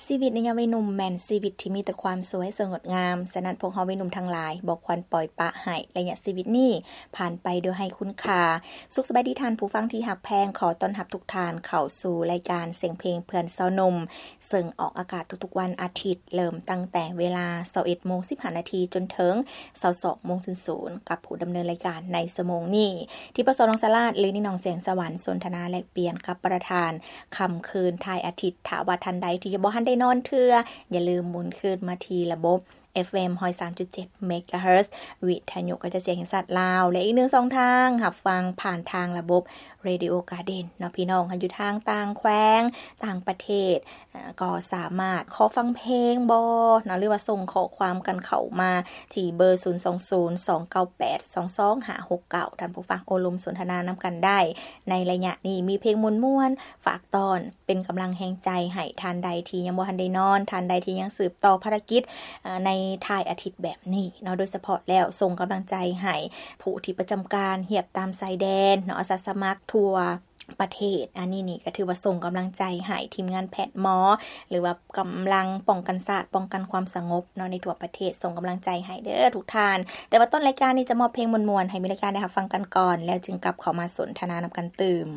ຊີວິດໃນຍາມວັຍໜຸ່ມແມ່ນຊີວິດທີ່ມີແຕ່ຄວາມສວຍສດງົດງາມ, ສະນັ້ນພວກເຮົາວັຍໜຸ່ມທັງຫຼາຍບໍ່ຄວນປ່ອຍປະໃຫ້ໄລຍະຊີວິດນີ້ຜ່ານໄປໂດຍໄຮ້ຄຸນຄ່າ. ສຸກສະບາຍດີທ່ານຜູ້ຟັງທີ່ຮັກແພງ, ຂໍຕ້ອນຮັບທຸກທ່ານເຂົ້າສູ່ລາຍການສຽງເພງເພື່ອນຊາວໜຸ່ມ, ເຊິ່ງອອກອາກາດທຸກໆວັນອາທິດ, ເລີ່ມຕັ້ງແຕ່ເວລາຊາວເອັດໂມງສິບຫ້ານາທີ ຈົນເຖິງຊາວສອງໂມງສູນສູນ ກັບຜູ້ດຳເນີນລາຍການໃນຊົ່ວໂມງນີ້ ທິບປະສົນ ນອງສາລາດ ຫຼື ນິງໜອງ ແສງສະຫວັນ, ສົນທະນາແລກປ່ຽນກັບປະທານ ຄ່ຳຄືນທ້າຍອາທິດ. ຖ້າວ່າທ່ານໃດທີ່ຍັງບໍ່ທັນໄດ້ນອນເທື່ອ, ຢ່າລືມໝູນຄືນມາທີ່ລະບົບ ເອັຟເອັມ ຮ້ອຍສາມຈຸດເຈັດ ເມກາເຮີດ ວິທະຍຸກະຈະສຽງແຫ່ງຊາດລາວ ແລະ ອີກໜຶ່ງຊ່ອງທາງ ຮັບຟັງຜ່ານທາງລະບົບ Radio Garden ເນາະ. ພີ່ນ້ອງຢູ່ທາງຕ່າງແຂວງ, ຕ່າງປະເທດ, ກໍສາມາດຂໍຟັງເພງບໍເນາະ ຫຼືວ່າສົ່ງຂໍ້ຄວາມກັນເຂົ້າມາທີ່ເບີ ສູນສອງສູນ ສອງເກົ້າແປດ ສອງສອງຫ້າຫົກເກົ້າ ທ່ານຜູ້ຟັງໂອ້ລົມສົນທະນານຳກັນໄດ້. ໃນໄລຍະນີ້ມີເພງມ່ວນໆ ຝາກຕ້ອນ ເປັນກຳລັງແຮງໃຈໃຫ້ທ່ານໃດທີ່ຍັງບໍ່ທັນໄດ້ນອນ, ທ່ານໃດທີ່ຍັງສືບຕໍ່ພາລະກິດໃນທ້າຍອາທິດແບບນີ້ເນາະ. ໂດຍສະເພາະແລ້ວ ສົ່ງກຳລັງໃຈໃຫ້ຜູ້ທີ່ປະຈຳການຮຽບຕາມຊາຍແດນເນາະ, ອາສາສະໝັກທົ່ວປະເທດ. ອັນນີ້ນີ້ກໍຖືວ່າສົ່ງກຳລັງໃຈໃຫ້ທີມງານແພດໝໍ ຫຼືວ່າກຳລັງປ້ອງກັນຊາດ, ປ້ອງກັນຄວາມສະຫງົບເນາະ ໃນທົ່ວປະເທດ. ສົ່ງກຳລັງໃຈໃຫ້ເດີທຸກທ່ານ. ແຕ່ວ່າຕົ້ນລາຍການນີ້ຈະມອບເພງມ່ວນໆ ໃຫ້ມີລາຍການໄດ້ຮັບຟັງກັນກ່ອນ, ແລ້ວຈຶ່ງກັບເຂົ້າມາສົນທະນານຳກັນຕື່ມ.